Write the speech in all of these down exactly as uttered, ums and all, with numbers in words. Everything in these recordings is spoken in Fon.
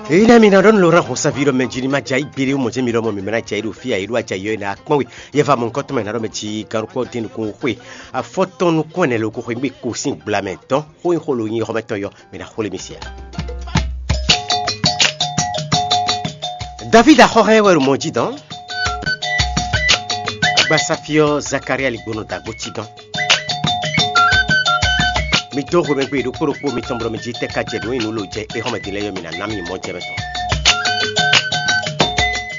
Èyí ná mi ná ɖɔ nú Laurent Hɔnsavi ɖɔ mɛ jí ní ma jɛ ayǐ gbéɖé mɔ jɛ́n mi ɖɔ mɔ mi mɛ ná jɛ ayǐ ɖo fí ayǐ ɖo ajɛ yɔ ná kpɔ́n we. Yɛ va mɔ nukɔn tɔn mɛ ná ɖɔ mɛ jí gán ɖokpó dín nukún xwe afɔtɔn nukún ɛnɛ loko xwe gbé ko sín gbla mɛ dɔn xó nyi xó lo nyi xɔmɛtɔn yɔ mi ná xwlé mi sia. David axɔxɛ wɛ ɖo mɔ jí dɔn. Agbasafyɔ Zakaria ligbónɔ dagbo cí dɔn. Mi dó xomɛgbe ɖokpó ɖokpó mitɔn blɔ mi jí tɛ́ ka jɛ nǔ e nǔ lo jɛ éhɔ́mɛ din lɛ́ɛ yɔ mi ná ná mi mɔ jɛ mɛ tɔn.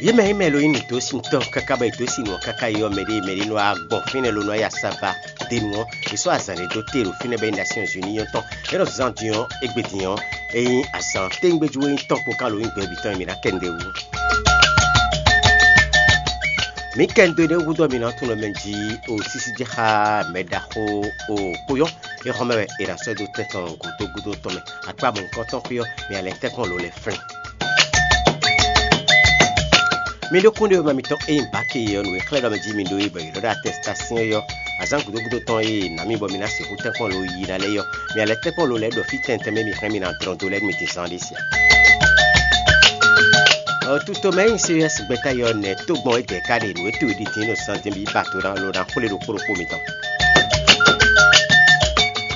Yě mɛ yě mɛ lo nyí nǔdósintɔ́ káká bɔ è dǒ sin nǔ ɔ́ káká yi ɔ́, mɛɖé mɛɖé nɔ wá gbɔn fínɛ́ ló nɔ yi asaba denu ɔ́, è sɔ́ azǎn ɖé dó te ɖo fínɛ́ bɔ é nyí Nations Unies tɔn. É nɔ zán din ɔ́, égbé din ɔ́, é nyí azǎn téńgbéjú e nyí tɔn kpó ká lo nyí gbɛ̌bí tɔn e mǐ ná kɛ nǔɖé wú. Mǐ kɛ nǔ dó énɛ́ gúdo ɔ́, mǐ ná tunwun mɛ jí o sísí jɛ xá mɛ ɖaxó o kpóyɔ́. É xɔ́ mɛ wɛ è nǎ sɔ́ ɛ dó tɛ́ tɔn gǔdo gúdo tɔn mɛ. Akpá mɔ̌hunkɔtɔn xwé ɔ́, mǐ ná lɛ́ tɛ́nkpɔ́n lǒ lɛ́ flín. Mi ɖó kúnɖé wěma mitɔn e nyí bǎke ɔ́, nǔ e xlɛ́ ɖɔ mɛ jí mi ɖó é bɔ è ɖɔ ɖó atɛsitasɛ́n ɔ́, azǎn gǔdo gúdo tɔn e è nǎ mi bɔ mi ná sixú tɛ́nkpɔ́n lǒ yi ná lɛ́ɛ ɔ́, mi ná lɛ́ tɛ́nkpɔ́n lǒ lɛ́ɛ ɖɔ fí tɛntɛn mɛ mi hɛn mi ná dlɔ́n dó lɛ́ɛ nú mi din zán ɖé sia. Tutomɛ e nyí Sirius gbɛ́ta yɔ nɛ̌ tɔ́gbɔn é dɛ̌ ká ɖe nǔ e towe ɖi din nɔ santɛn bǐ ba do ná lo ná xwlé ɖokpó ɖokpó mitɔn.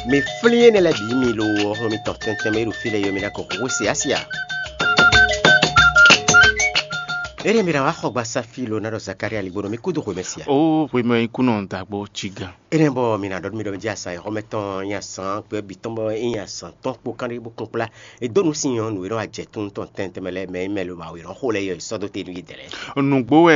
Mi flín énɛ́ lɛ́ɛ bǐ mi lo ɔ́, hɔn mitɔn tɛntɛn mɛ e ɖo fí lɛ́ɛ yɔ mi ná ko xwé se asi a? Énɛ́ mi ná wá xɔ gba Safi lo ná ɖɔ Zakaria ligbónɔ mi kúdó xwemɛ sia. Ó hwemɛ ikúnɔ dàgbò cí gán. Énɛ́ bɔ mi ná ɖɔ nú mi ɖɔ mi jí asa e xɔmɛ tɔn nyi asán gbɛ bǐ tɔn bɔ é nyi asán tɔn kpó kánɖé bó kún kplá. È dó nǔ sin nyɔ̌nu e nɔ wá jɛ tún tɔn tɛntɛn mɛ lɛ́ɛ mɛ e mɛ lo awe nɔ xo lɛ́ɛ yɔ sɔ́ dó te nú yě dɛ̌ lɛ́ɛ. Nǔgbó wɛ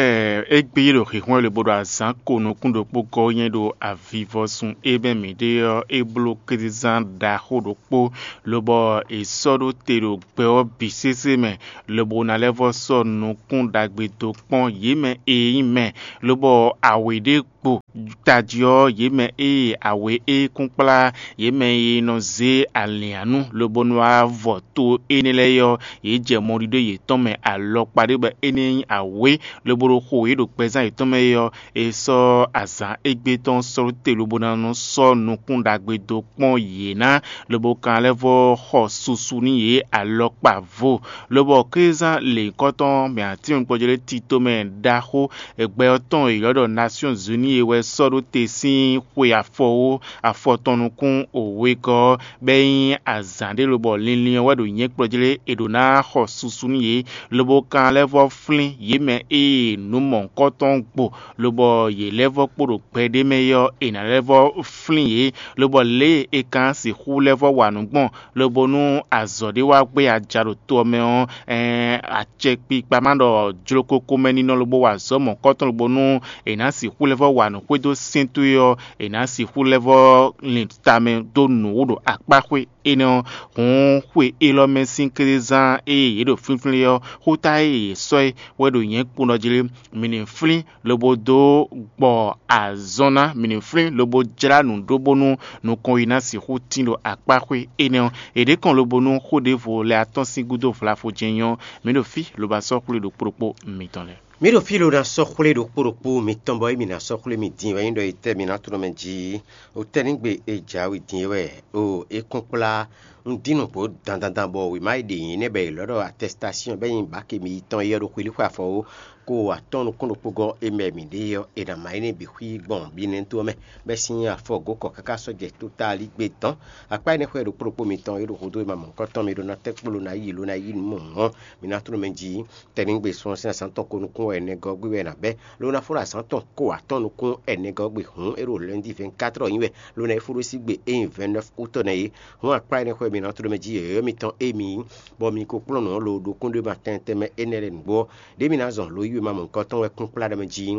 é gbé yí ɖo xixɔ́n lobo ɖo azǎn ko nukún ɖokpó gɔ́ nyɛ ɖo avivɔsun e mɛ mǐ ɖe ɔ́, é bló kézezán ɖaxó ɖokpó, lobɔ è sɔ́ ɖó te ɖo gbɛ ɔ́ bǐ sésé mɛ, lobo ná lɛ́ vɔ́ sɔ́ nukún ɖagbe dó kpɔ́n yě mɛ e nyí mɛ, lobɔ awě ɖé kpo tají ɔ́, yě mɛ ée awě é kún kplá yě mɛ e nɔ zé alǐnnyánú lobo nɔ wá vɔ to énɛ́ lɛ́ɛ ɔ́, yě jɛ mɔɖiɖó yětɔn mɛ alɔkpa ɖé bɔ énɛ́ nyí awě, lobo ɖo xo yě ɖo gbɛzán yětɔn mɛ é ɔ́, è sɔ́ azǎn égbé tɔn sɔ́ te lobo ná nɔ sɔ́ nukún ɖagbe dó kpɔ́n yě ná, lobo kan lɛ́ vɔ́ xɔ susu nú yě alɔkpa vo, lobɔ kézán lěhunkɔtɔn mɛ atín kpɔjɛ́ lɛ́ɛ tito mɛ ɖaxó gbɛ ɔ́ tɔn e è ylɔ́ ɖɔ Nasyɔ́n Zuni é wɛ sɔ́ ɖó te sín xwe afɔwó afɔtɔn nukún wegɔ́ ɔ́, bɔ é nyí azǎn ɖé lobɔ linlin ɔ́ wɛ ɖo nyɛ̌kplɔ́ jlé è ɖǒ ná xɔ susu nú yě, lobo kan lɛ́ vɔ́ flín yě mɛ ée nǔ mɔ̌hunkɔtɔn gbo, lobɔ yě lɛ́ vɔ́ kpo ɖo gbɛ ɖé mɛ é ɔ́, è nǎ lɛ́ vɔ́ flín yě, lobɔ lě e è ka sixú lɛ́ vɔ́ wa nǔ gbɔn, lobo nú azɔ̌ ɖé wá gbé aja ɖo to ɔ́ mɛ ɔ́, ɛɛn, acɛkpikpa ma ɖɔ jlokoko mɛ ninɔ lobo wa azɔ̌ mɔ̌kɔtɔn lobo nú è nǎ sixú lɛ́ vɔ́ wa nǔ xwedó sɛ́n towe ɔ́, è nǎ sixú lɛ́ vɔ́ lin tamɛ dó nǔ wú ɖo akpá xwé énɛ́ ɔ́. Hǔn xwe élɔ́ mɛ sín kézán e yě ɖo flínflín ɔ́, xóta e yě sɔ́ é wɛ ɖo nyɛ̌ kpowun ɔ́ jlé. Mǐ ní flín lobo dó gbɔ azɔn ná, mǐ ní flín lobo jlá nǔ ɖó bónú nukɔn yi ná sixú tín ɖo akpá xwé énɛ́ ɔ́. È ɖě kɔn lobo nú xó ɖěvo lɛ́ɛ atɔ́n sín gúdo vlavo jɛ́n nyɔ́, mǐ ɖo fí lobo asɔ́ xwlé ɖokpó ɖokpó mitɔn lɛ́ɛ. Mǐ ɖo fí lo ná sɔ́ xwlé ɖokpó ɖokpó mitɔn bɔ émí ná sɔ́ xwlé mì din wɛ nyí ɖɔ etɛ́ mǐ ná tlɔ́n mɛ jí. Otɛ́ ní gbe e jǎwe din é wɛ o é kún kplá un dín nǔgbó dandandan bɔ wěma e ɖe nyǐ nɛ́ bɔ è lɔ̌ ɖɔ atɛsitasíɔn bɔ é nyí bǎke mitɔn é ɔ́ ɖo xwelíxwe afɔwó ko atɔ́ɔ́n nukún ɖokpó gɔ́ é mɛ mǐ ɖe é ɔ́, è nǎ má énɛ́ bǐ xwí gbɔn binɛ́to ɔ́ mɛ, bɔ é sín afɔ gǒ kɔ káká sɔ́ jɛ tótálí gbe dɔn. Akpá énɛ́ xwɛ ɖokpó ɖokpó mitɔn é ɖo hudó e ma mɔ nukɔntɔn mi ɖó ná tɛ́ kpó ló ná yi ló ná yi nǔ mɔ hɔn mi ná tló mɛ jí. Tɛnigbe sun ɔ́ sín azǎn tɔn ko nukún wɛ nɛgɔ́ gbe wɛ è nǎ bɛ́, ló ná fó ɖo azǎn tɔn ko atɔ́ɔ́n nukún ɛnɛgɔ́ gbe hǔn é ɖo lɛ́ndí vɛ̌nkátrɔ nyí wɛ, ló ná yi fó ɖó sí gbe é nyí vɛ̌nnɛ́f utɔ́ nɛ́ é. Hǔn akpá énɛ́ xwɛ mi ná tló mɛ jí yɔ̌yɔ́ mitɔn émi, bɔ mi ko kplɔ́n nǔ ɔ́ lo ɖo kúnɖéma tɛntɛn mɛ énɛ́ lɛ́ɛ nǔgbó ɔ́, ɖěe mi ná zɔn lǒ yi wɛ ma mɔ nukɔntɔn wɛ kún kplá ɖɔ mɛ jí.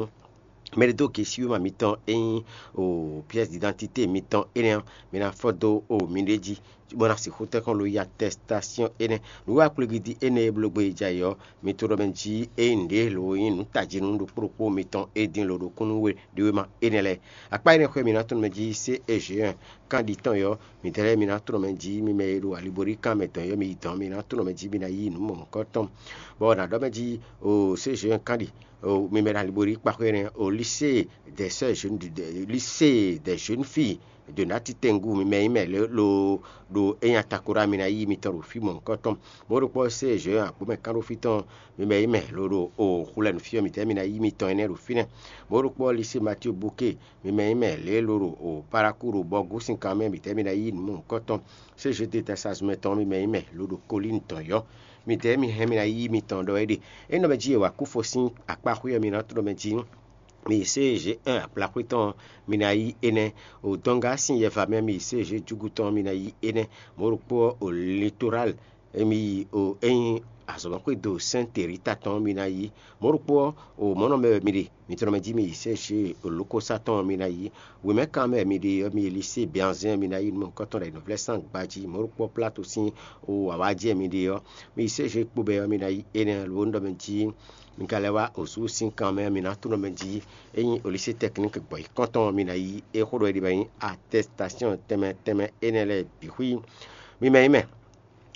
Mɛ ɖé dó gesíwéma mitɔn e nyí o pièce d'identité mitɔn énɛ́ ɔ́, mi ná fɔ dó o miɖée jí, bó ná sixú tɛ́nkpɔ́n lo yi atɛsitasíɔn énɛ́. Nǔwiwa kplɔ́gídi énɛ́ e bló gbé yi jɛ ayǐ ɔ́, mi to ɖɔ mɛ jí ényí nǔɖé lo nyí nǔ tají nú ɖokpó ɖokpó mitɔn e din lo ɖo kúnnu we ɖi wéma énɛ́ lɛ́ɛ. Akpá énɛ́ xwé mi ná tunwun mɛ jí sé Ezhéen kán ɖi tɔn yɔ́, midɛɛ lɛ́ɛ mi ná tunwun mɛ jí mi mɛ e ɖo aliborí kán mɛ dɔn yɔ́ mi yi dɔn, mi ná tunwun mɛ jí mi ná yí nǔ mɔ̌hunkɔtɔn, bɔ ná ɖɔ mɛ jí o sé Ezhéen kán ɖi. Mi mɛ ɖo aliborí kpa xwé nɛ́ o lycée des sœurs jeunes, lycée des jeunes filles Donati tɛngu mi mɛ nyí mɛ lě lo ɖo é nyi atakoɖa mi ná yí mitɔn ɖo fí mɔ̌hunkɔtɔn. Mɔ̌ ɖokpó ɔ́, sé Jean Agbomɛ kánɖófí tɔn mi mɛ nyí mɛ lo ɖo o xulɛnufí ɔ́ mitɛ́ mi ná yí mitɔn énɛ́ ɖo fínɛ́. Mɔ̌ ɖokpó ɔ́, Lisée Matío Bukée mi mɛ nyí mɛ lě lo ɖo o Paláku ɖo Bɔgúsinkan mɛ mitɛ́ mi ná yí mɔ̌hunkɔtɔn. Sé Jean Détastazumɛ tɔn mi mɛ nyí mɛ lo ɖo Kolíni tɔn yɔ́. Mitɛ́ mi hɛn mi ná yí mitɔn ɖɔ é ɖe. É nɔ mɛ jí e wa kú fɔ sín akpá xwé ɔ́ mi ná tlɔ́ mɛ jí. Mi sé G un agblaxwé tɔn mi ná yí énɛ́, o Dɔnga sín yɛva mɛ mi sé G júgu tɔn mi ná yí énɛ́, mɔ̌ ɖokpó ɔ́, o Litoral mi yi o é nyí azɔ̌mɛxwédo Sɛ́n Terita tɔn mi ná yí, mɔ̌ ɖokpó ɔ́, o mɔ̌ nɔ mɛ wɛ mi ɖe, mi tlɔ́ mɛ jí mi yi sé G o Lukósa tɔn mi ná yí, wěmɛkan mɛ wɛ mi ɖe ɔ́, mi yi Lisée Bianzɛ́n mi ná yí nǔmɔ̌hunkɔtɔn ɖo ayǐnɔvlɛ́ sín agba jí, mɔ̌ ɖokpó ɔ́, Plato sín o awǎjí wɛ mi ɖe ɔ́, mi yi sé G kpo bɛ́ ɔ́, mi ná yí énɛ́, lo ɔ́, un ɖɔ mɛ jí mi ka lɛ́ wá osu sín kan mɛ, mi ná tunɔ mɛ jí. É nyí o Lisée Tɛkníki gbɔ̌ yi kɔ́ntɔn mi ná yí é xó ɖɔ é ɖi wɛ nyí atɛsitasyɔn tɛnmɛ tɛnmɛ énɛ́ lɛ́ɛ bǐ xwí. Mi mɛ nyí mɛ,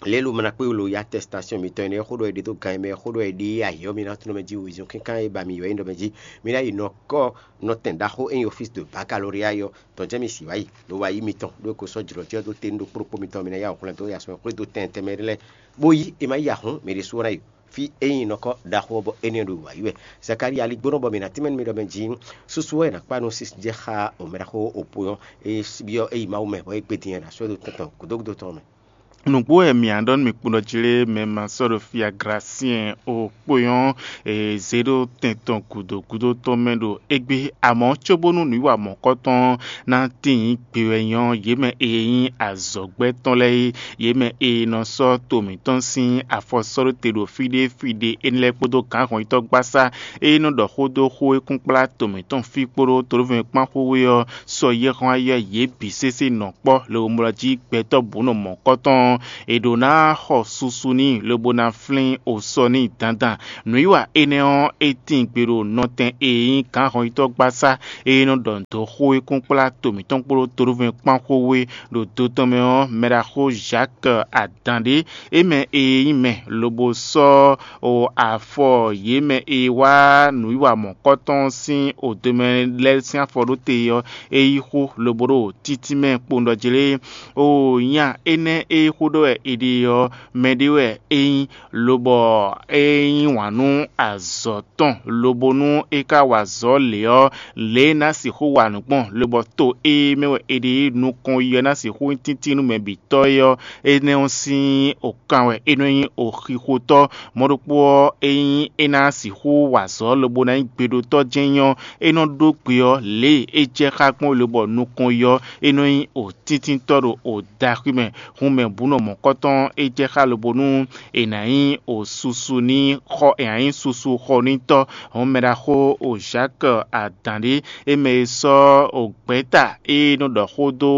lě e lo mla kpé lo yi atɛsitasyɔn mitɔn énɛ́ xó ɖɔ é ɖe dó gan e mɛ xó ɖɔ é ɖe ayǐ ɔ́, mi ná tunɔ mɛ jí wezun kínkan e ba mi wɛ nyí ɖɔ mɛ jí. Mi ná yi nɔkɔ nɔtɛn ɖaxó e nyí ofísi de bakaloria ɔ́ tɔn jɛ́n mi sì wá yi, lo wá yí mitɔn ɖó é ko sɔ́ jlɔ̌ jí ɔ́ dó te nú ɖokpó ɖokpó mitɔn, mi ná yá xwlɛ́n dó ya sɔ́ xwé dó tɛn tɛnmɛ ɖé lɛ́ɛ, bó yí è ma yí ahɔ̌n mi ɖésú ɔ́ ná yi. Fí e nyí nɔkɔ ɖaxó ɔ́ bɔ énɛ́ ɖo wǎyi wɛ. Zakalía ligbónɔ bɔ mǐ ná tínmɛ nú mi ɖɔ mɛ jí, susu wɛ è nǎ kpa nú sísí jɛ xá omɛɖaxó opó ɔ́, é byɔ́ é yi Mawu mɛ bɔ é gbe din ɛ ɖo asɔ́ e ɖo tɛn tɔn gǔdo gúdo tɔn mɛ. Nǔgbó wɛ mǐ á ɖɔ nú mi kpɔ́n ɖɔ jí lé mɛ ma sɔ́ ɖo fí Aglasiɛn o kpó nyɔ́ zě ɖó tɛn tɔn gǔdo gúdo tɔn mɛ ɖo égbé, amɔ̌ cóbónú nǔwiwa mɔ̌kɔtɔn ná tíin gbe wɛ nyɔ́ yě mɛ e nyí azɔ̌gbɛ́ tɔn lɛ́ɛ é, yě mɛ e nɔ sɔ́ to mǐtɔn sín afɔ sɔ́ ɖó te ɖo fí ɖé fí ɖé énɛ́ lɛ́ɛ kpódó gǎnhɔnyitɔ́ gbasá e nɔ ɖɔ xó dó xó e kún kplá to mǐtɔn fí kpódó tolóvɛ́nkpán xwé ɔ́ sɔ́ yɛ́ hɔn ayɔ yě bǐ sésé nɔ kpɔ́ lewomlɔ jí gbɛtɔ́ bǔ nɔ mɔ̌kɔtɔn. È ɖǒ ná xɔ susu n'i lobo ná flín osɔ n'i dandan. Nǔwiwa énɛ́ ɔ́, é tíin gbe ɖo nɔtɛn e nyí gǎnhɔnyitɔ́ gbasá e nɔ ɖɔ nǔ dó xó e kún kplá to mǐtɔn kpódó tolóvɛ́nkpán xwé ɖo do tɔn mɛ ɔ́, mɛɖaxó Zaki Adǎn ɖé, é mɛ e nyí mɛ lobo sɔ́ o afɔ yě mɛ e wá nǔwiwa mɔ̌kɔtɔn sín odomɛ lɛ́ɛ sín afɔ ɖó te ɔ́, é yí xó lobo ɖo títínmɛ kpowun ɖɔ jlé. O nya énɛ́ e xó ɖɔ wɛ è ɖe ɔ́, mɛɖé wɛ é nyí, lobɔ é yí wǎn nú azɔ̌ tɔn, lobo nú é ka wa azɔ̌ lě ɔ́, lě e é ná sixú wa nǔ gbɔn, lobɔ to e mɛ wɛ è ɖe nukɔn yi ɔ́ ná sixú nyí tíntín nú mɛ bǐ tɔ́ é ɔ́, énɛ́ ɔ́ sín okan wɛ é nɔ nyí oxixotɔ́. Mɔ̌ ɖokpó ɔ́, ényí é ná sixú wa azɔ̌ lobo ná nyí gbeɖotɔ́ jɛ́n nyí ɔ́, é nɔ ɖó gbe ɔ́, lě e é jɛ xá gbɔn lobɔ nukɔn yi ɔ́, é nɔ nyí otíntintɔ́ ɖo odaxwí mɛ. Hun mɛ bǔ nɔ mɔ̌kɔtɔn é jɛ xá lobo nú è nǎ nyí o susu ní xɔ è nǎ nyí susu xɔnítɔ́. Hɔn mɛɖaxó o Zhak adǎn ɖé, é mɛ e sɔ́ o gbɛ̌ta e nɔ ɖɔ xó dó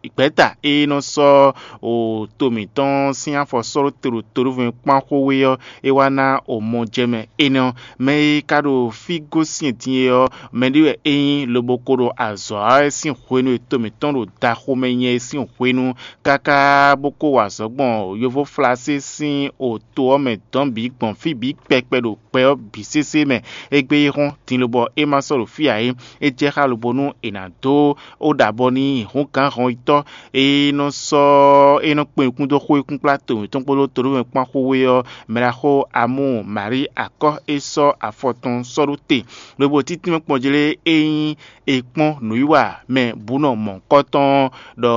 gbɛ̌ta e nɔ sɔ́ o to mǐtɔn sín afɔ sɔ́ ɖó te ɖo tolóvɛ́n kpán xó wé ɔ́, é wá ná o mɔ jɛ mɛ énɛ́ ɔ́. Mɛ e ka ɖo fí gosín din é ɔ́, mɛɖé wɛ é nyí lobo ko ɖo azɔ̌ wa wɛ sín hwenu e to mǐtɔn ɖo daxomɛ nyɛ é sín hwenu, káká bó kó wa azɔ̌ gbɔn yovóflasé sín o to ɔ́ mɛ dɔ̌n bǐ gbɔn fí bǐ kpɛkpɛ ɖo gbɛ ɔ́ bǐ sésé mɛ. Égbé é hɔ́n din lobɔ é ma sɔ́ ɖo fí ǎ é, é jɛ xá lobo nú è nǎ dó ó ɖo abɔ n'i hǔn gǎn hɔnyitɔ́ e nɔ sɔ́ é nɔ kpé nukún dó xó e kún kplá to mǐtɔn kpódó tolómɛ kpán xó wé ɔ́, mɛɖaxó Amú Marí akɔ́ é sɔ́ afɔ tɔn sɔ́ ɖó te. Lobo títínmɛ kpɔ́n jlé é nyí è kpɔ́n nǔwiwa mɛ bǔ nɔ mɔ̌hunkɔtɔn ɖɔ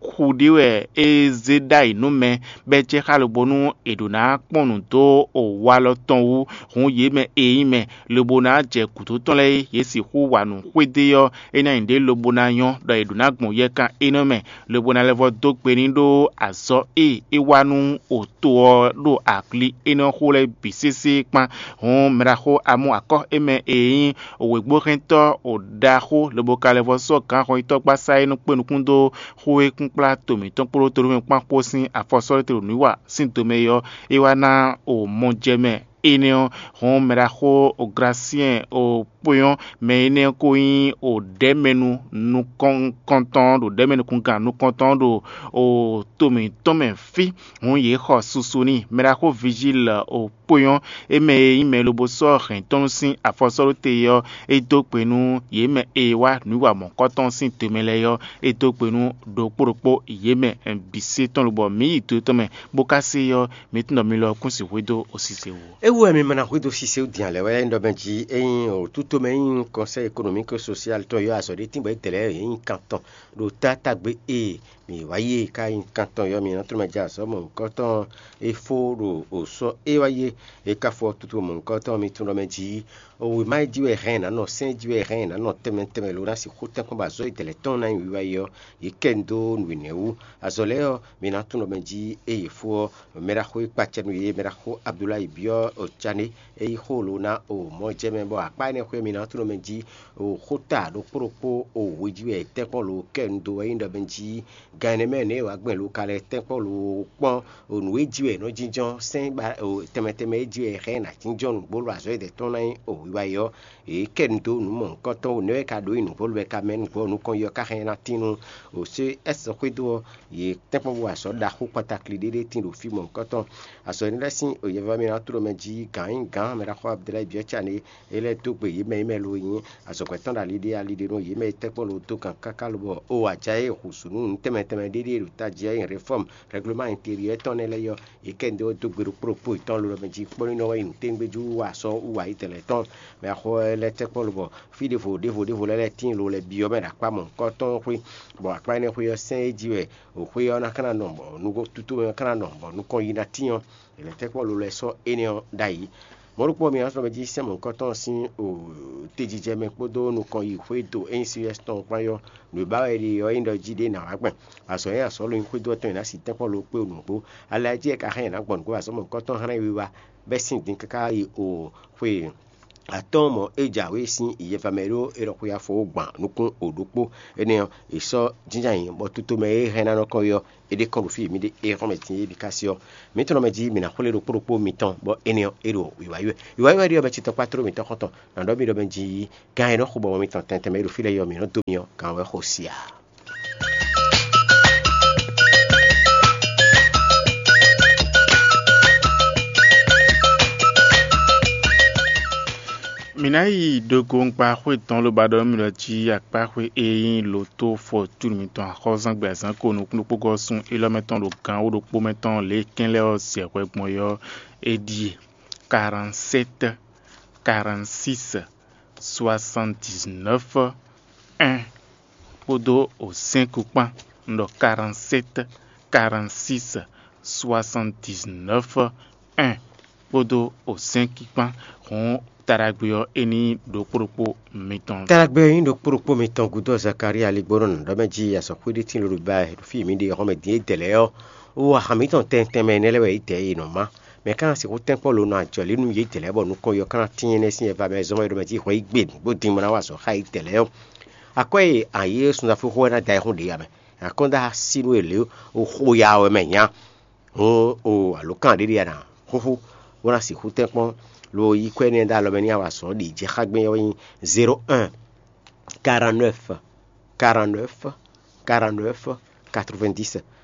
xu ɖé wɛ é zé ɖ'ayǐ nú mɛ, bɔ é jɛ xá lobo nú è ɖǒ ná kpɔ́n nǔ dó o walɔ tɔn wú, hǔn yě mɛ e nyí mɛ, lobo ná jɛ gǔdo tɔn lɛ́ɛ é, yě sixú wa nǔ xwedó ɔ́, é ná nyí ɖě lobo ná nyɔ́ ɖɔ è ɖǒ ná gbɔn yɛkan énɛ́ mɛ, lobo ná lɛ́ vɔ́ dó gbe n'i ɖó azɔ̌ e é wa nú o to ɔ́ ɖo akli énɛ́ xó lɛ́ɛ bǐ sésé kpán. Hǔn mɛɖaxó Amú akɔ́ é mɛ e nyí wěgbóhɛntɔ́ ɖaxó lobo ka lɛ́ vɔ́ sɔ́ gǎnhɔnyitɔ́ gbasá e nɔ kpé nukún dó xó e kún kplá to mǐtɔn kpódó tolómɛ kpán kpó sín afɔ sɔ́ ɖé te ɖo nǔwiwa sín domɛ é ɔ́, é wá ná o mɔ jɛ mɛ énɛ́ ɔ́, hɔn mɛɖaxó Glasiɛn o kpó nyɔ́. Mɛ énɛ́ ko nyí o ɖɛ̌mɛnu nukɔntɔn ɖo ɖɛ̌mɛnukungán nukɔntɔn ɖo o to mǐtɔn mɛ fí. Hǔn yě xɔ susu n'i. Mɛɖaxó Vigile o kpó nyɔ́, é mɛ e nyí mɛ lobo sɔ́ hɛ̌n tɔn sín afɔ sɔ́ ɖó te ɔ́, é dó gbe nú yě mɛ e wá nǔ wa mɔ̌kɔtɔn sín do mɛ lɛ́ɛ ɔ́, é dó gbe nú ɖokpó ɖokpó yě mɛ bǐ sé tɔn lobɔ mǐ yi do tɔn mɛ, bó ka se ɔ́, mǐ tunwun ɖɔ mi lɔ kún sixú dó osise wú. É wú wɛ mi ma ná xwedó sise din alɛ wɛ ɖɔ mɛ jí é nyí o tútomɛ é nyí kɔnsɛ́ ekonomík sosial tɔn yɔ azɔ̌ ɖé tíngbɔ é dɛ̌ lɛ́ɛ é nyí kan tɔn ɖo tátágbe e mǐ wá yi e ka nyí kan tɔn yɔ mǐ nɔ tlɔ́ mɛ jɛ azɔ̌ mɔ̌hunkɔtɔn e fó ɖo o sɔ́ é wá yi e ka fɔ tutu mɔ̌hunkɔtɔn mi tunwun ɖɔ mɛ jí o wěma e jí wɛ hɛn nǎ nɔ sɛ́n e jí wɛ hɛn nǎ nɔ tɛnmɛ tɛnmɛ lo ná sixú tɛ́nkpɔ́n bɔ azɔ̌ e dɛ̌ lɛ́ɛ tɔn ná nyi wiwa yi ɔ́, yě kɛ nu dó nǔ énɛ́ wú. Azɔ̌ lɛ́ɛ ɔ́, mi ná tunwun ɖɔ mɛ jí e yě fó ɔ́, mɛɖaxó e kpacɛ nú yě, mɛɖaxó Abdulayi byɔ́ Cané, é yí xó lo ná o mɔ̌ jɛ mɛ, bɔ akpá énɛ́ xwé mi ná tunwun mɛ jí o xóta ɖokpó ɖokpó o hwejí wɛ tɛ́nkpɔ́n lo kɛ nu dó wɛ nyí ɖɔ mɛ jí gan énɛ́ mɛ nɛ̌ wǎ gbɛn lo ka lɛ́ tɛ́nkpɔ́n lo kpɔ́n o nǔ e jí wɛ è nɔ jínjɔ́n sɛ́n ba o tɛnmɛ tɛnmɛ e jí wɛ è hɛn ná jínjɔ́n nǔgbó lo azɔ̌ e dɛ̌ tɔn ná nyí o wiwa yi ɔ́, yě kɛ nu dó nǔ mɔ̌hunkɔtɔn o nɛ̌ wɛ ka ɖǒ nyi nǔgbó lo wɛ ka mɛ nǔgbó nukɔn yi ɔ́ ka hɛn ná tín nú o sé ɛsɛ xwédo ɔ́, yě tɛ́nkpɔ́n bó wa azɔ̌ ɖaxó kpatakli ɖé ɖé tín ɖo fí mɔ̌hunkɔtɔn. Azɔ̌ énɛ́ lɛ́ɛ sín yɛvɛ́ mì ná tló mɛ jí gǎn nyí gǎn mɛ ɖaxó Abdulayi byɔ́ ca n'i é lɛ́ dó gbe yě mɛ e mɛ lo nyí azɔ̌gbɛ́ tɔn ɖo ali ɖé ali ɖé nú yě mɛ e tɛ́nkpɔ́n lo dó gǎn káká lobɔ o aja e hǔzú nú nǔ tɛnmɛ tɛnmɛ ɖé ɖíe ɖo tají ɔ́ nyi réfɔ́mu rɛgleman intérieur tɔn nɛ́ lɛ́ɛ ɔ́, yě kɛ nǔ ɖé ɔ́ dó gbe ɖokpó ɖokpó yětɔn lobɔ mɛ jí kpɔ́ ní nɔ wɛ nyi nǔtɛngbéjú wú wa sɔ́ wú wa yi tɛlɛ tɔn. Mɛ axɔ lɛ́ɛ tɛ́nkpɔ́n lobɔ fí ɖěvo ɖěvo ɖěvo lɛ́ɛ lɛ́ɛ tíin lo lɛ́ɛ byɔ́ mɛ ɖo akpá mɔ̌hunkɔtɔn xwé, bɔ akpá énɛ́ xwé ɔ́ sɛ́n é jí wɛ xwé ɔ́ ná ka ná nɔ bɔ nukɔn tutomɛ ɔ́ ka ná nɔ bɔ nukɔn yi ná tín ɔ́, è lɛ̌ tɛ́nkpɔ́n lo lɛ́ɛ sɔ́ énɛ́ ɔ́ ɖ'ayǐ. Mɔ̌ ɖokpó ɔ́, mi ná sɔ́ mɛ jí sɛ́n mɔ̌hunkɔtɔn sín tejijɛ mɛ kpódó nukɔn yi xwé do é nyí Silvɛ́sitɔ́ tɔn kpán ɔ́, nǔ e ba wɛ è ɖe ɔ́ nyí ɖɔ jí ɖé nǎ wá gbɛn. Azɔ̌ e azɔ̌ lo nyí xwédo ɔ́ tɔn è nǎ si tɛ́nkpɔ́n lo kpé nǔgbó. Alɛ jí wɛ ka hɛn è nǎ gbɔn nǔgbó azɔ̌ mɔ̌hunkɔtɔn hlɛ́n wiwa bɛ́ sín din káká yi o xwe atɔ́ɔ́n mɔ̌ é jǎwe sín yɛfa mɛ ɖó é ɖɔ xwé afɔ ó gban nukún o ɖokpó. Énɛ́ ɔ́, è sɔ́ jínjɔ́n ayǐ bɔ tutomɛ e hɛn ná nɔ kɔn yi ɔ́, é ɖe kɔn ɖo fí e mǐ ɖe é xɔ́n mɛ din é bǐ ká sí ɔ́, mǐ tunwun mɛ jí mǐ ná xwlé ɖokpó ɖokpó mitɔn, bɔ énɛ́ ɔ́, é ɖo wǐwá yi wɛ. Wǐwá yi wɛ ɖíe ɔ́, mɛ ce tɔkpá tló mǐtɔn xɔ́ntɔn ná ɖɔ mì ɖɔ mɛ jí gán e nɔ xo bɔ mitɔn tɛntɛn mɛ e ɖo fí lɛ́ɛ yi ɔ́, mǐ nɔ dó mi ɔ́, gǎn wɛ xo sia. Mǐ ná yi ɖogonkpa xwé tɔn lobo ɖɔ nú mì ɖɔ jí akpáxwé e nyí lǒtó fɔtúnu mitɔn axɔ́zángbé azǎn ko nukúnnú kpógɔ́ sun élɔ́ mɛ tɔn ɖo gan wó ɖokpó mɛ tɔn lě e kɛ́n lɛ́ɛ ɔ́ zɛ hwɛ gbɔn é ɔ́, é ɖíe: quarante-sept, quarante-six, soixante-dix-neuf, un kpódó o cinq kpán. Un ɖɔ quarante-sept, quarante-six, soixante-dix-neuf, un kpódó o cinq kpán. Hǔn taɖagbe ɔ́, é ní ɖokpó ɖokpó mitɔn. Taɖagbe ɔ́ nyí ɖokpó ɖokpó mitɔn gúdo Zakaria ligbónɔ nǔɖɔmɛ jí azɔ̌xwé ɖé tín lǒ ɖo ba ɖo fí e mǐ ɖe ɔ́ xɔmɛ dín é dɛ̌ lɛ́ɛ ɔ́, ó wa han mǐtɔn tɛntɛn mɛ énɛ́ lɛ́ɛ wɛ é dɛ̌ e nɔ má. Mɛ ka ná sixú tɛ́nkpɔ́n lo nɔ ajɔ̌ lí nú yě dlɛ̌ bɔ nukɔn yɔ ka ná tíin énɛ́ sín ɛva mɛ zɔ́n wɛ ɖo mɛ jí hwɛ yí gbe bó din bó ná wa azɔ̌ xá yě dlɛ̌ ɔ́. Akwɛ́ e ayǐ e sunzafúnxó wɛ ná da ayihún ɖě ya mɛ. Akɔ́nda sínú e lě xo ya wɛ mɛ nya. Hǔn o alǒkan ɖé ɖe ya ná xúxú bó ná sixú tɛ́nkpɔ́n lo yí kwɛ́ énɛ́ dó alɔ mɛ n'i wa azɔ̌ ɖě jɛ xá gbɛn ɔ́ nyí zéro un, quarante-neuf, quarante-neuf, quarante-neuf, quatre-vingt-dix.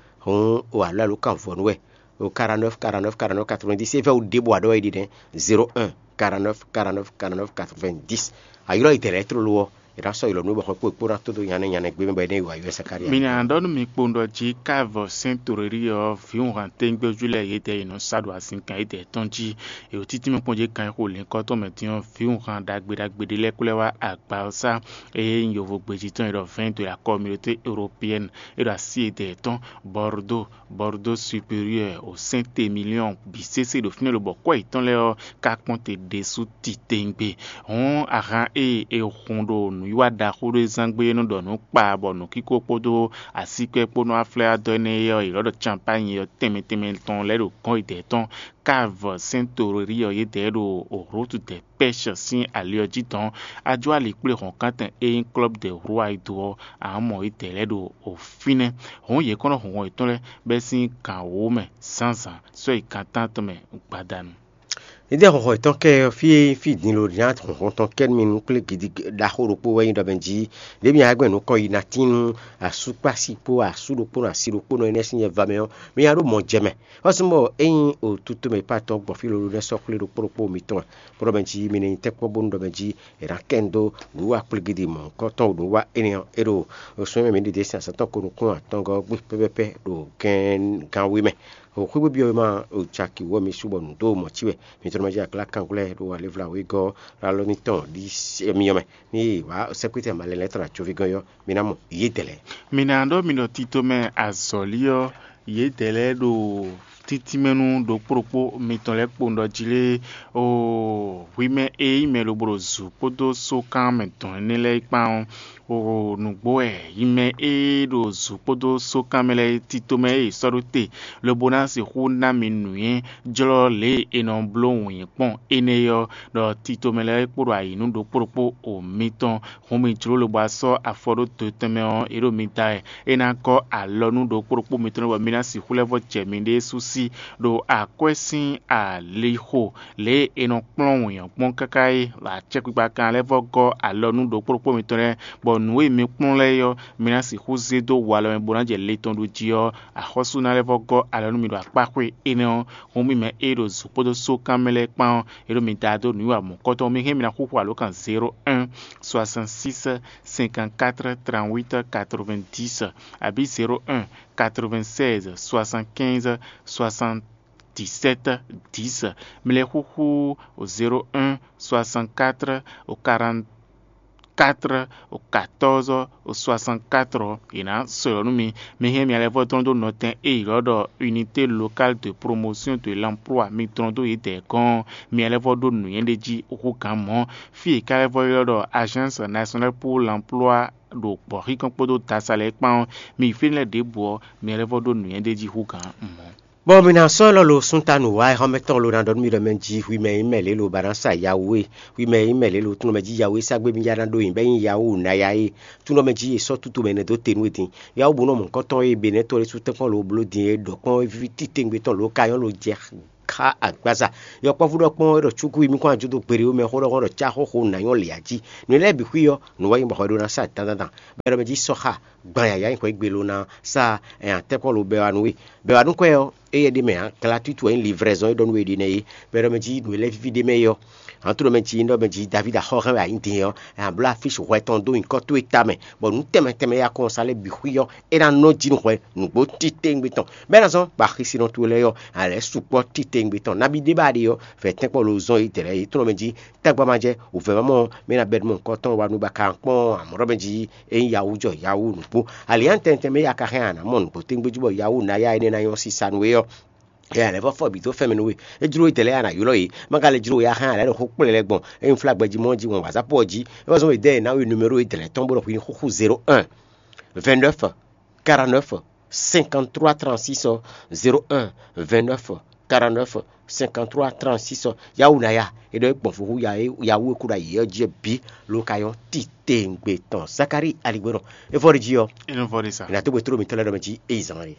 Hǔn o alɔ alǒkan vɔ̌nu wɛ o quarante-neuf, quarante-neuf, quarante-neuf, quatre-vingt-dix. É vɛ́ wú ɖěbǔ aɖɔ́ é ɖi nɛ́: zéro un, quarante-neuf, quarante-neuf, quarante-neuf, quatre-vingt-dix. A ylɔ́ yi dɛ̌ lɛ́ɛ tlóló ɔ́, è nǎ sɔ́ ylɔ̌ nú bɔ xɔ kpó kpó ná tó dó nyanɛ nyanɛ gbé mɛ bɔ é ná yi wǎ yɔ́ Zakalía. Mi ná ɖɔ nú mi kpowun ɖɔ jí káa vɔ sɛ́n toɖéɖí ɔ́, vǐwunhan tégbéjú lɛ́ɛ yědɛɛ yě nɔ sá ɖo azinkan yědɛɛ tɔn jí. È ɖo títí mɛ kpɔ́n jí kan e xo lǐnkɔ́ tɔn mɛ din ɔ́, vǐwunhan ɖagbe ɖagbe ɖé lɛ́ɛ kplɔ́ wá agba ɔ́ sá. Eye nyí yovo gbejí tɔn e ɖɔ vɛ̌ɛn dó e akɔ́ mì ɖo té Européenne e ɖo así yědɛɛ tɔn, Bordeaux, Bordeaux Supérieur, o Saint-Émilion bǐ sésé ɖo fínɛ́ lobɔ kwɛ́ yětɔn lɛ́ɛ ɔ́ ka kpɔ́n te ɖésú titewungbe. Hǔn ahan e è hun ɖo nǔwiwa ɖaxó ɖé zán gbé e nɔ ɖɔ nǔ kpa bɔ nǔkíko kpódó asíkpɛ́ kpó nɔ wá flɛ́ wá dɔ́ énɛ́ é ɔ́, è lɔ̌ ɖɔ canpányi ɔ́ tɛnmɛ tɛnmɛ tɔn lɛ́ɛ ɖo gɔ̌n yědɛɛ tɔn. Káa vɔ sɛ́n toɖéɖí ɔ́ yědɛɛ ɖo Route des Pêches sín ali ɔ́ jí dɔn. Ajó ali kplé hɔ̌nkántɛn e nyí Club des Rois e do ɔ́, a nǎ mɔ yědɛɛ lɛ́ɛ ɖo fínɛ́. Hǔn yě kɔn nɔ hun hɔn yětɔn lɛ́ɛ bɛ́ sín gan wǒ mɛ zǎnzǎn sɔ́ yi gan tántɔn mɛ gbadanu. Édɛ́ hɔnhɔn yětɔn kɛ ɔ́, fí e nyí fí din lo ná hɔnhɔn tɔn kɛ nú mi nú kplé gidi ɖaxó ɖokpó wɛ nyí ɖɔ mɛ jí, ɖěbǔ nya gbɛn nǔ kɔ yi ná tín nú asú kpó asi kpó asú ɖokpónɔ asi ɖokpónɔ énɛ́ sín nyɛ va mɛ ɔ́, mi nya ɖó mɔ jɛ mɛ. Xɔ́sú bɔ é nyí otutomɛ e Patɔ́ gbɔn fí lolo nɛ́ sɔ́ xwlé ɖokpó ɖokpó mitɔn wɛ, bó ɖɔ mɛ jí mi ní nyí tɛ́nkpɔ́n bónú ɖɔ mɛ jí è nǎ kɛ nu dó nǔwiwa kplé gidi mɔ̌hunkɔtɔn nǔwiwa énɛ́ ɔ́, é ɖo sunwɛ́ mɛ mǐ ɖe ɖě sín azǎn tɔn ko nukún atɔngɔ́ ɔ́ gbe pɛ́pɛ́pɛ́ ɖo gɛ́n gánwé mɛ. Xwé bǐ ɔ́ ma ɖo caki wú ɔ́ mi sú bɔ nǔ dó mɔ̌ cí wɛ. Mi tlɔ́ ma jí aklá kanglɛ́ ɖo alévla wegɔ́ alɔ mitɔn ɖi myɔ mɛ. Ní yě wá sɛ́kpétɛn malɛ lɛ́ɛ tɔn ɖo ajoví gɔ́n ɔ́, mi ná mɔ yědɛɛ lɛ́ɛ. Mi ná ɖɔ mi ɖɔ tito mɛ azɔ̌li ɔ́, yědɛɛ lɛ́ɛ ɖo títínmɛnú ɖokpó ɖokpó mitɔn lɛ́ɛ kpowun ɖɔ jí lé, oo, hwi mɛ e nyí mɛ lobo ɖo zǔ kpódó sókan mɛ dɔn énɛ́ lɛ́ɛ kpán ɔ́, oo, nǔgbó wɛ yi mɛ e ɖo zǔ kpódó sókan mɛ lɛ́ɛ tito mɛ e è sɔ́ ɖó te, lobo ná sixú ná mi nǔnywɛ́ jlɔ́ lě e è nɔ bló wǔnyí kpɔ́n énɛ́ é ɔ́, ɖɔ tito mɛ lɛ́ɛ kpo ɖo ayǐ nú ɖokpó ɖokpó o mitɔn. Hǔn mi jló lobo wá sɔ́ afɔ ɖó do tɔn mɛ ɔ́, é ɖo mi da wɛ. É ná gɔ́ alɔ nú ɖokpó ɖokpó mitɔn lɛ́ɛ bɔ mi ná sixú lɛ́ vɔ́ jɛ miɖée sú sí ɖo akwɛ́ sín alixo, lě e è nɔ kplɔ́n wǐnyɔ́ kpɔ́n káká é. Acɛkpikpa kan lɛ́ vɔ́ gɔ́ alɔ nú ɖokpó ɖokpó mitɔn lɛ́ɛ, bɔ nǔ e mi kplɔ́n lɛ́ɛ é ɔ́, mi ná sixú zé dó walɔ mɛ bó ná jɛ le tɔn ɖu jí ɔ́, axɔ́sú ná lɛ́ vɔ́ gɔ́ alɔ nú mi ɖo akpáxwé énɛ́ ɔ́. Hǔn mi mɛ e ɖo zǔ kpódó só kán mɛ lɛ́ɛ kpán ɔ́, è ɖo mi da dó nǔwiwa mɔ̌kɔtɔn. Mi hɛn mi ná xúxú alǒkan zéro un soixante six cinquante quatre trente huit quatre vingt dix, abǐ zéro un quatre vingt seize soixante quinze soixante dix sept dix. Mi lɛ́ xúxú zéro un soixante quatre quarante quatre quatorze soixante quatre ɔ́, è nǎ sɔ́ nú mi. Mi hɛn mi alɛvɔ́ dɔn dó nɔtɛn e è ylɔ́ ɖɔ Unité Locale de Promotion de l'Emploi, mi dɔn dó yědɛɛ gɔ́n. Mi alɛvɔ́ ɖó nǔnywɛ́ ɖé jí hú gǎn mɔ̌. Fí e è ka lɛ́ vɔ́ ylɔ́ ɖɔ Agence Nationale pour l'Emploi ɖo gbɔ̌xíkɔn kpódó dasa lɛ́ɛ kpán ɔ́, mi yi fínɛ́ lɛ́ɛ ɖěbǔ ɔ́, mi alɛvɔ́ ɖó nǔnywɛ́ ɖé jí hú gǎn mɔ̌. Bɔ mi ná sɔ́ lɔ lo súnta nǔ wá xɔ́mɛtɔn lo ná ɖɔ nú mi ɖɔ mɛ jí hwi mɛ e nyí mɛ lě lo ba ná sa yawu é, hwi mɛ e nyí mɛ lě lo tlɔ́n mɛ jí yawu é sá gbé mi ya ná ɖó nyi bɔ é nyí yawu ná ya é. Tlɔ́n mɛ jí è sɔ́ tútu mɛ nɛ́ dó te nú we din. Yawu bó nɔ mɔ̌hunkɔtɔn e Benɛ́tɔ́ ɖésú tɛ́nkpɔ́n lo bló din é ɖɔ kpɔ́n ví titewungbe tɔn lǒ ka nyɔ́ lo jɛ xá agbaza. Yɔkpɔ́vú ɖɔ kpɔ́n é ɖɔ cúkú yi mì kɔn ajó dó gbeɖé mɛ xó ɖɔ xó ɖɔ cá xóxó nǎ nyɔ́ lě jí. Nǔ lɛ́ɛ bǐ xwí ɔ́, nǔ wɛ nyí bɔ hwɛ ɖó ná sa dandandan. Bɔ é ɖɔ mɛ jí sɔ́ xá gban yǎyá nyǐkɔ e gbe lo ná sa tɛ́nkpɔ́n lo bɛwanu é. Bɛwanu kwɛ́ ɔ́, éyɛ́ ɖ'é mɛ ǎ, glatutu wɛ nyí livrɛzɔn e ɖɔ nú we ɖe nɛ́ é. Bɔ é ɖɔ mɛ jí nǔ e lɛ́ víví ɖ'é mɛ é ɔ́, ǎ tló mɛ jí é ɖɔ mɛ jí Davídi axɔ́ hɛn wɛ a nyǐ din ɔ́, a nǎ bló afísi hwɛ tɔn dó nyǐkɔ towe tamɛ, bɔ nǔ tɛnmɛ tɛnmɛ e a kɔn sa lɛ́ɛ bǐ xwí ɔ́, é ná nɔ jí nú hwɛ nǔgbó titewungbe tɔn. Bɔ é ná zɔ́n bɔ axisínɔ towe lɛ́ɛ ɔ́, a lɛ̌ sukpɔ́ titewungbe tɔn. Nabí ɖé ba ɖe ɔ́, vɛ̌ tɛ́nkpɔ́n lo zɔn yi dɛ̌ lɛ́ɛ yě tlɔ́n mɛ jí tagba ma jɛ wǔvɛ́ ma mɔ mɛ ná bɛ́ mɔ nukɔntɔn wa nú ba ka kpɔ́n amɔ̌ ɖɔ mɛ jí é nyí yawu jɔ yawu nǔgbó. Ali ǎ tɛntɛn mɛ ya ka hɛn a nǎ mɔ nǔgbó tɛ́ngbé jí bɔ yawu ná ya énɛ́ ná nyɔ́ sísa nú we ɔ́, é ǎ lɛ́ vɔ́ fɔ bǐ dó fɛ́n mɛ nú we. É jló édɛɛ lɛ́ɛ a nǎ ylɔ́ yě, má ka lɛ́ jló we a hɛn a lɛ́ ɖo xó kplé lɛ́ɛ gbɔn é nyí flágbɛ jí mɔ jí wɔn wǎzápɔ jí. É wá zɔ́n we dɛ́ e ná we numéro édɛɛ lɛ́ɛ tɔn bó ɖɔ hwi ní xúxú zéro un vingt neuf quarante neuf cinquante trois trente six ɔ́, zéro un vingt neuf quarante neuf cinquante trois trente six ɔ́, yawu ná ya é ɖɔ é gbɔn fó hú ya é yawu e kú ɖo ayǐ ɔ́ jí ɔ́ bǐ ló ka nyɔ́ titewungbe tɔn. Zakalíi aligbɔnɔ é vɔ ɖe jí ɔ́, Inú vɔ ɖe sa. È nǎ dó gbe tló mǐtɔn lɛ́ɛ ɖɔ mɛ jí é yi zán ɖe.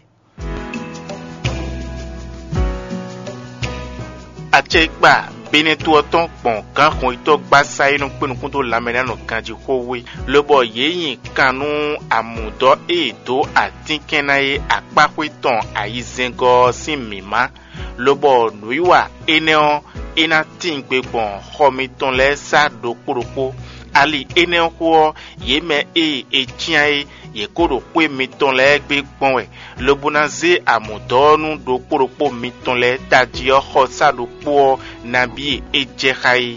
Acɛkpa Benɛ́to ɔ́ tɔn gbɔn gǎn xɔnyitɔ́ gbásá e nɔ kpé nukún dó lanmɛ ná nɔ ganjí xó wé, lobɔ yě nyi kan nú amǔdɔ́ e è dǒ atínkɛn ná é akpáxwé tɔn ayizɛ́ngɔ́ ɔ́ sín mǐmá, lobɔ nǔwiwa énɛ́ ɔ́, é ná tíin gbe gbɔn xɔ mitɔn lɛ́ɛ sá ɖokpó ɖokpó. Ali énɛ́ ɔ́ xó ɔ́, yě mɛ e è cyán é, yě kó ɖo xwé mitɔn lɛ́ɛ gbe gbɔn wɛ, lobo ná zé amǔdɔ́ ɔ́ nú ɖokpó ɖokpó mitɔn lɛ́ɛ tají ɔ́ xɔsá ɖokpó ɔ́ nabí e é jɛ xá é.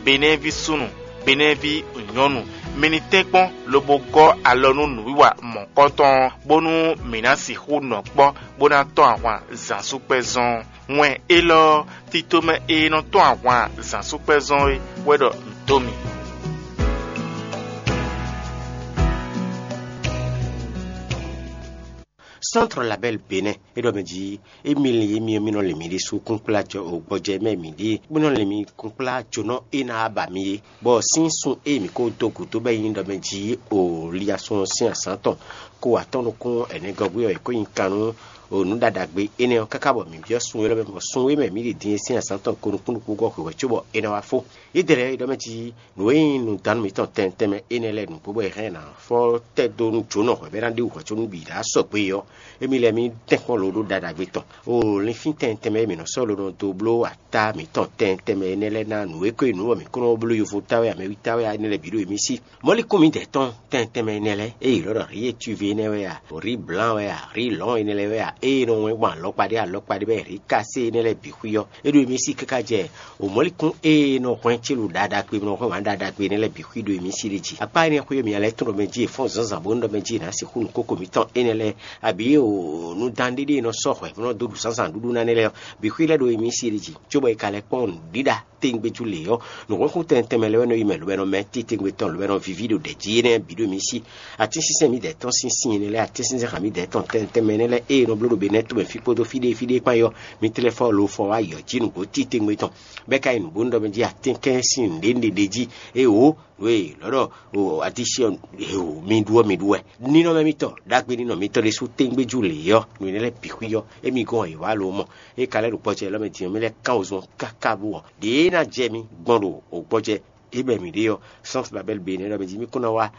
Benɛ́ví súnnu, Benɛ́ví nyɔ̌nu, mi ní tɛ́nkpɔ́n lobo gɔ́ alɔ nú nǔwiwa mɔ̌kɔtɔn ɔ́, bónú mǐ ná sixú nɔ kpɔ́ bó ná tɔ́n ahwan zǎnsúkpɛ́zɔn. Wɛn élɔ́ ɔ́, titomɛ e nɔ tɔ́n ahwan zǎnsúkpɛ́zɔn é wɛ ɖɔ un dó mi. Centre Label Bénin é ɖɔ mɛ jí émi lin émi ɔ́, mì nɔ lin mi ɖésú kúnkplá jɔ gbɔjɛ mɛ mǐ ɖíe, mì nɔ lin mi kúnkplá jónɔ e ná ba mi é, bɔ sín sun e mǐ ko dó gǔdo bɔ é nyí ɖɔ mɛ jí o liasun sín azǎn tɔn ko atɔ́ nukún ɛnɛgɔ́gbé ɔ́, è ko nyi kan nú O nǔ ɖaɖagbe énɛ́ ɔ́, káká bɔ mǐ byɔ́ sun élɔ́ mɛ, bɔ sun e mɛ mǐ ɖi din e sín azǎn tɔn ko nukúnnukún gɔ́ hwehwɛ cóbɔ é ná wá fó. Yě dɛ lɛ́ɛ é ɖɔ mɛ jí nǔ e nyí nǔdánú mǐtɔn tɛnmɛ tɛnmɛ énɛ́ lɛ́ɛ nǔgbó bɔ è hɛn ná fɔ tɛ́ dó nú jǒnɔ hwɛ̌ bɔ é ná ɖe wǔ hwɛ có nú bǐ ɖo asɔgbe ɔ́, émí lɛ́ɛ mǐ tɛ́nkpɔ́n lo ɖó ɖaɖagbe tɔn. O linfín tɛnmɛ tɛnmɛ e mǐ nɔ sɔ́ lo nɔ dó bló atá mǐtɔn tɛnmɛ tɛnmɛ énɛ́ lɛ́ɛ ná nǔ e ko nyí nǔ bɔ mǐ kó nɔ bló yovo táwɛ, amɛwi táwɛ énɛ́ lɛ́ɛ bǐ ɖo émí sí. Mɔ̌likún mǐdɛɛ tɔn tɛnmɛ tɛnmɛ énɛ́ lɛ́ɛ, ée yě lɔ́ ɖɔ rí étúvé énɛ́ wɛ a, rí blǎn wɛ a, rí lɔ̌n énɛ́ lɛ́ɛ wɛ a, ée nɔ wɛn gbɔn alɔkpa ɖé alɔkpa ɖé bɔ rí kasé énɛ́ lɛ́ɛ bǐ xwí ɔ́, é ɖo émí sí káká jɛ o mɔ̌likún ée nɔ hwɛn célu ɖaɖa kpé nɔ hwɛn wǎn ɖaɖa kpé énɛ́ lɛ́ɛ bǐ xwí ɖo émí sí ɖé jí. Akpá énɛ́ xwé ɔ́, mi lɛ́ tɔn ɖɔ mɛ jí è fɔ́n zǎnzǎn bó nɔ ɖɔ mɛ jí è nǎ sixú nǔ kókó mǐtɔn énɛ́ lɛ́ɛ, abǐ o nǔdan ɖé ɖé e nɔ sɔ́ hwɛ bó nɔ dó ɖu zǎnzǎn ɖuɖu ná nɛ́ lɛ́ɛ ɔ́, bǐ xwí lɛ́ɛ ɖo émí sí ɖé jí, cóbɔ è ka lɛ́ kpɔ́n nǔɖiɖa tɛngbéjú lě ɔ́, nǔhwɛ́nxún tɛnmɛ tɛnmɛ lɛ́ɛ wɛ nɔ yi mɛ lobɛ́nɔ mɛ titewungbe tɔn lobɛ́nɔ víví ɖo ɖɛ̌ jí énɛ́ bǐ ɖo mǐ sí. Atínsínsɛ́n mǐdɛɛ tɔn sín sin énɛ́ lɛ́ɛ, atínsínsɛ́n xa mǐdɛɛ tɔn tɛnmɛ tɛnmɛ énɛ́ lɛ́ɛ ée nɔ bló ɖo benɛ́ tomɛ fí kpódó fí ɖé fí ɖé kpán é ɔ́, mi tlɛ fɔ lo fɔ wá yɔ jí nǔgbó titewungbe tɔn, bɔ é ka nyí nǔgbónú ɖɔ mɛ jí atínkɛ́nsin nǔɖé nǔɖé ɖé jí. Ée wǒ, nǔ e lɔ̌ ɖɔ o atínsínsɛ́n ɔ́, mi ɖu ɔ́ mi ɖu wɛ. Ninɔmɛ mitɔn ɖagbe ninɔ mitɔn ɖésú tɛngbéjú lě ɔ́, nǔ énɛ́ lɛ́ɛ bǐ xwí ɔ́, émí gɔ́n è wǎ lo mɔ. É ka lɛ́ ɖo gbɔjɛ élɔ́ mɛ din ɔ́, mì lɛ́ kán wezun káká bú ɔ́, ɖě e ná jɛ mi gbɔn ɖo gbɔjɛ é mɛ mǐ ɖe ɔ́, sɔ́nsi Babɛ́li be nɛ́ ɖɔ mɛ jí mì kún ná wá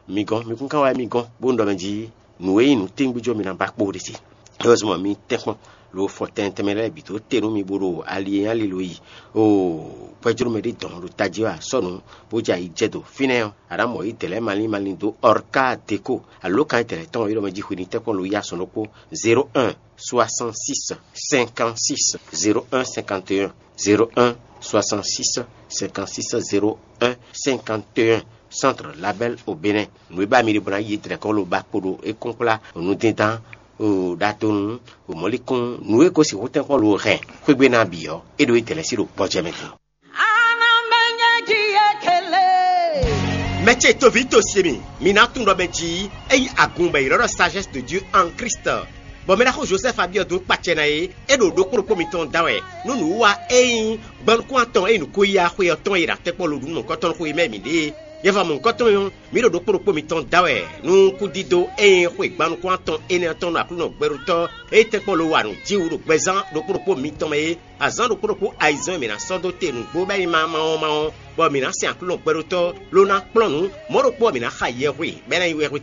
mi gɔ́n, mi kún ka wá mi gɔ́n, bónú ɖɔ mɛ jí nǔ e nyí nǔtɛngbéjɔ mi ná ba kpo ɖe se. É wɛ zɔ́n mi tɛ́nkpɔ́n lo fɔ tɛnmɛ tɛnmɛ lɛ́ɛ bǐ dó te nú mi bó ɖo ali e nyí ali lo yi o gbɛjló mɛ ɖé dɔn ɖo tají wɛ a sɔ́ nǔ bó jɛ ayǐ jɛ do fínɛ́ ɔ́, a nǎ mɔ yí dɛ̌ lɛ́ɛ malín malín dó ɔrká deko alo kan tɛlɛ tɔn e ɖɔ mɛ jí xwini tɛ́nkpɔ́n lo yi asɔn ɖokpó zéro un soixante-six cinquante-six zéro un cinquante et un zéro un soixante-six cinquante-six zéro un cinquante et un. Centre Label au Bénin. Nǔ e ba mi ɖe bɔ ná yi dlɛ̌ kɔn lo ba kpo ɖo é kɔn kplá nǔdindán o ɖadonu o mɔ̌likún nǔ e ko sixú tɛ́nkpɔ́n lo hɛn xwégbé ná bǐ ɔ́, é ɖo é dɛ̌ lɛ́ɛ sí ɖo gbɔjɛ mɛ din. Mɛ ce toví to se mi, mi ná tunwun ɖɔ mɛ jí é nyí agun bɔ è ylɔ́ ɖɔ sagesse de Dieu en Christ. Bɔ mɛ ɖaxó Josɛ́fu Abiɔdu kpacɛ ná é, é ɖo ɖokpó ɖokpó mitɔn da wɛ nú nǔwiwa e nyí gbanukún atɔn e nyí nǔkó-yíyá xwe ɔ́ tɔn e ɖo atɛ́kpɔ́ lo ɖu nukɔntɔn xwe mɛ mǐ ɖe é. Yɛ́famɔ nukɔntɔn ɔ́, mǐ ɖo ɖokpó ɖokpó mitɔn da wɛ nú kúdídó e nyí xwe gbanukún atɔn énɛ́ ɔ́ tɔn ɖo Aklúnɔ gbɛɖotɔ́ e tɛ́nkpɔ́n lo wa nǔ jí wú ɖo gbɛzán ɖokpó ɖokpó mitɔn mɛ é. Azǎn ɖokpó ɖokpó ayizɛ́n e mǐ ná sɔ́ dó te nǔgbó bɔ é nyí ma ma ɔ́ ma ɔ́, bɔ mǐ ná sɛn Aklúnɔ gbɛɖotɔ́ ló ná kplɔ́n nǔ, mɔ̌ ɖokpó ɔ́ mǐ ná xa yɛhwe bɔ é ná nyí wɛhwe